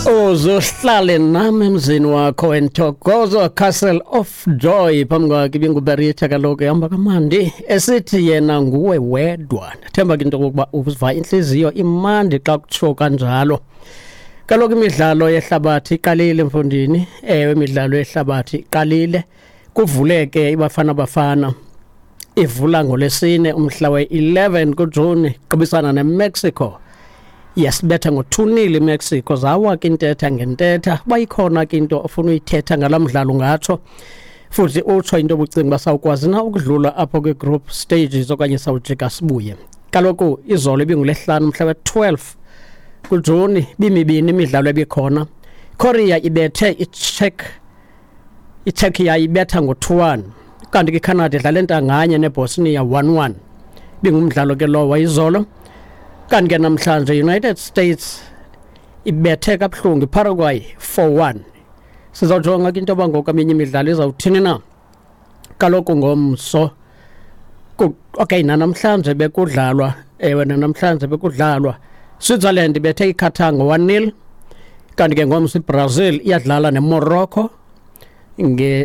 Uzohlale nami emzini wakho eNthokozo Castle of Joy. Phambi kwakhe ibinguBerita kaloku ehamba kamandi esithi yena nguwe wedwa. Ndithemba ke into yokokuba uva intliziyo imandi xa kutsho kanjalo. Kaloku imidlalo yehlabathi iqalile mfondini. Ewe, imidlalo yehlabathi iqalile. Kuvuleke iBafana Bafana ivula ngolwesine umhla we-11 kuJuni qubisana neMexico. Yasibetha ngo-2-0 iMexico. Zawa ke intetha ngentetha. Uba ikhona ke into ofuna uyithetha ngala mdlalo ungatsho, futhi utsho into obucinga uba sawukwazi na ukudlula apho kwi-group stages okanye sawujika sibuye. Kaloku izolo ibingulesihlanu umhla we-12 kuJuni, bimibini imidlalo ebikhona. Korea ibethe iCzech, iCzechia ibetha ngo-2-1, kanti ke iCanada idlala entanganye neBosnia 1-1. Bingumdlalo ke lowo izolo. Kanti ke namhlanje United States ibethe kabuhlungu iParaguay 4-1. Sizawujonga ke into yoba ngoku eminye imidlalo izawuthini na. Kaloku ngomso, okay, nanamhlanje bekudlalwa. Ewe, nanamhlanje bekudlalwa. Switzerland ibethe iQatar ngo-1-0. Kanti ke ngomso iBrazil iyadlala neMorocco,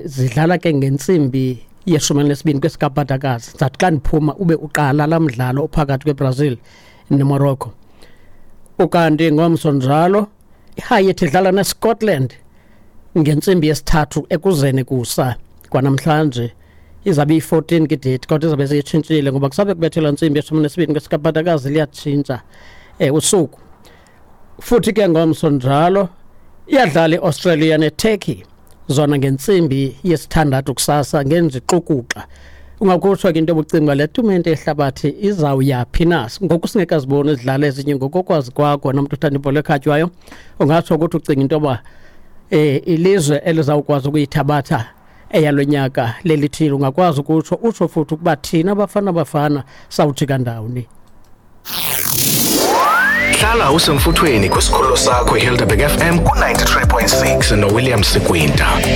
zidlala ke ngentsimbi yeshumi elinesibini kwesikabhadakazi. Zathi xa ndiphuma ube uqala laa mdlalo ophakathi kweBrazil neMorocco. Ukanti ngomso njalo iHaiti idlala neScotland ngentsimbi yesithathu ekuzeni kusa kwanamhlanje. Izabe iyi-14 ke date, kodwa izabe seyitshintshile ngoba kusabe kubethelwa ntsimbi yeshumi nesibini kwesikabhadakazi, liyatshintsha usuku. Futhi ke ngomso njalo iyadlala iAustralia neTurkey, zona ngentsimbi yesithandathu kusasa ngenjixukuxa. Ungakutsho ke into yobucinga le tumente yehlabathi izawuyaphi na ngoku singekaziboni izidlalo ezinye. Ngokokwazi kwakho nomntu uthanda ibhola ekhatywayo, ungatsho ukuthi ucinga into yoba ilizwe elizawukwazi ukuyithabatha eyalo nyaka lelithile? Ungakwazi ukutsho, utsho futhi ukuba thina Bafana Bafana sawujika ndawoni? Hlala usemfuthweni kwisikhululo sakho iHelderberg FM ku-93.6 noWilliam Sikwinta.